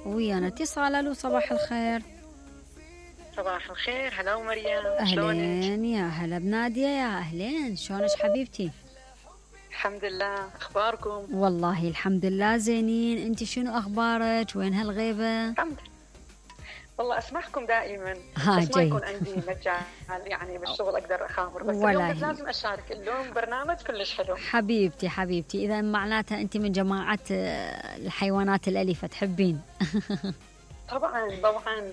ويانا اتصال. الو صباح الخير. صباح الخير. هلا ومريم. اهلين يا هلا بنادية. يا اهلين، شلونك حبيبتي؟ الحمد لله، اخباركم؟ والله الحمد لله زينين. انت شنو اخبارك؟ وين هالغيبة؟ الحمد لله. والله اسمعكم دائما بس ها ما جيد. يكون عندي مجال يعني بالشغل اقدر اخابر، بس ولا اليوم هي. بس لازم اشارك. اليوم برنامج كلش حلو. حبيبتي اذا معناتها انت من جماعة الحيوانات الاليفة تحبين. طبعا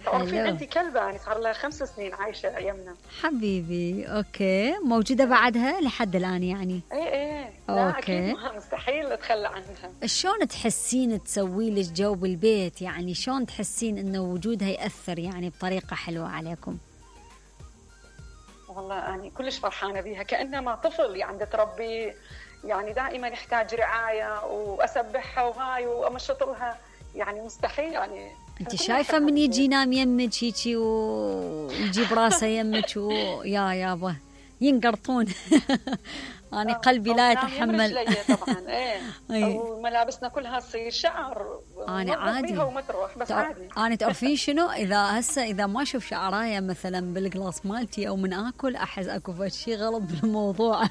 تعرفين عندي كلبة يعني صار لها 5 سنين عايشة ايامنا. حبيبي اوكي، موجودة بعدها لحد الان يعني؟ ايه لا أوكي. اكيد مستحيل اتخلى عنها. شلون تحسين تسوي لك جو بالبيت؟ يعني شلون تحسين انه وجودها يأثر يعني بطريقة حلوة عليكم؟ والله يعني كلش فرحانة بيها، كأنما طفل يعني تربي، يعني دائما يحتاج رعاية واسبحها وهاي وامشط لها، يعني مستحيل يعني. انت شايفة من يجي ينام يمك هيجي ويجيب راسه يمك ويا يابا ينقرطون. أنا قلبي لا يتحمل. طبعا ايه وملابسنا كلها تصير شعر. أنا عادي وما تروح بس عادي. أنا تعرفين شنو، إذا ما أشوف شعراية مثلا بالقلاص مالتي أو من آكل أحس أكو شيء غلط بالموضوع.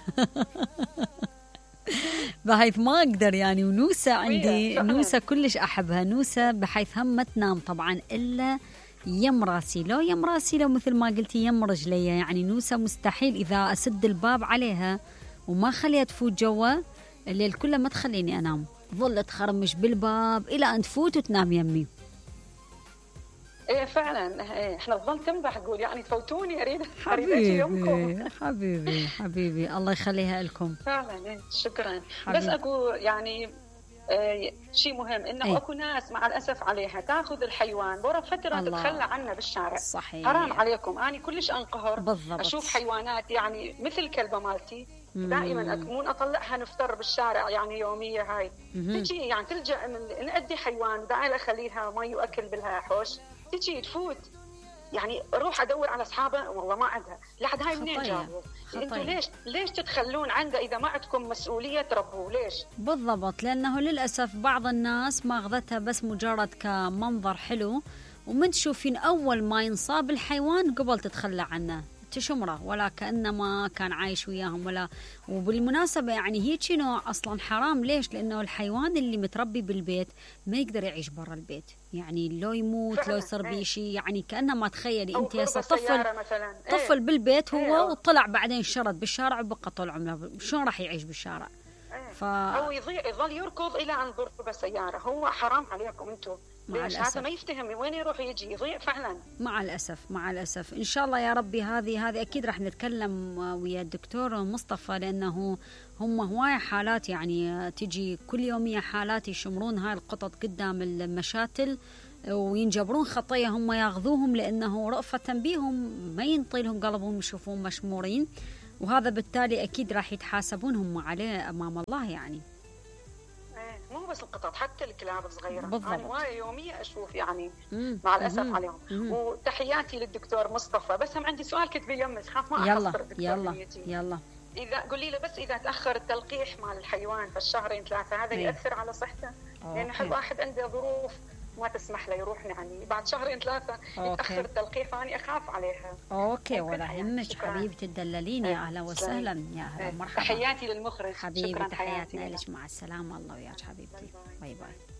بحيث ما أقدر يعني. ونوسة عندي نوسة كلش أحبها. نوسة بحيث هم ما تنام طبعا إلا يم راسي، لو مثل ما قلتي يم رجلي. يعني نوسة مستحيل إذا أسد الباب عليها وما خليها تفوت جوا الليل كله ما تخليني أنام، ظل تخرمش بالباب إلى أن تفوت وتنام يمي. ايه فعلا. ايه احنا نظل تنبح تقول يعني تفوتوني اريد يومكم. حبيبي الله يخليها لكم. فعلا ايه شكرا. بس اكو يعني شيء مهم انه اكو ناس مع الاسف عليها تاخذ الحيوان ورا فتره تتخلى عنه بالشارع. صحيح. حرام عليكم. انا كلش انقهر بالضبط. اشوف حيوانات يعني مثل الكلبه مالتي دائما مو اطلعها نفطر بالشارع يعني يوميه هاي تجي يعني تلجا من نأدي حيوان داعي اخليها مي واكل بالها حوش تجي تفوت يعني اروح ادور على اصحابها والله ما عندها. لحد هاي منين جابوا؟ انتوا ليش تتخلون عنده اذا ما عندكم مسؤوليه تربوه؟ ليش؟ بالضبط، لانه للاسف بعض الناس ماخذتها بس مجرد كمنظر حلو، ومن تشوفين اول ما ينصاب الحيوان قبل تتخلى عنه تشمره ولا كأنما كان عايش وياهم ولا. وبالمناسبة يعني هيك نوع أصلا حرام. ليش؟ لأنه الحيوان اللي متربي بالبيت ما يقدر يعيش برا البيت، يعني لو يموت لو يصير بيه شيء يعني كأنما تخيلي أنت هسه طفل بالبيت هو وطلع بعدين شرد بالشارع وبقى طول عمره، شلون راح يعيش بالشارع؟ أو يظل يركض إلى أن ضرب سيارة. هو حرام عليكم أنتم. هذا ما يفتهم وين يروح يجي يضيع فعلا. مع الأسف إن شاء الله يا ربي. هذه أكيد راح نتكلم ويا الدكتور مصطفى، لأنه هم هواية حالات يعني تجي كل يومية حالات يشمرون هاي القطط قدام المشاتل وينجبرون خطية هم ياخذوهم لأنه رأفة بيهم ما ينطيلهم قلبهم يشوفون مشمورين، وهذا بالتالي أكيد راح يتحاسبون هم عليه أمام الله يعني. مو بس القطط حتى الكلاب الصغيرة. بالضبط. أنا هواية يومية أشوف يعني مع الأسف عليهم. وتحياتي للدكتور مصطفى. بس هم عندي سؤال كتبي يمك خاف ما أحصر الدكتور. يلا إذا قولي له بس إذا تأخر التلقيح مال الحيوان في الشهرين 3 هذا يأثر على صحته؟ لأن حد واحد عنده ظروف ما تسمح له يروح يعني بعد 2-3 يتأخر التلقيح فأني أخاف عليها. أوكي ولا يهمك حبيبتي تدللين. يا أهلا وسهلا يا أهلا مرحبا. تحياتي للمخرج. حبيبي تحياتنا لك. مع السلامة. الله وياك حبيبتي. باي باي.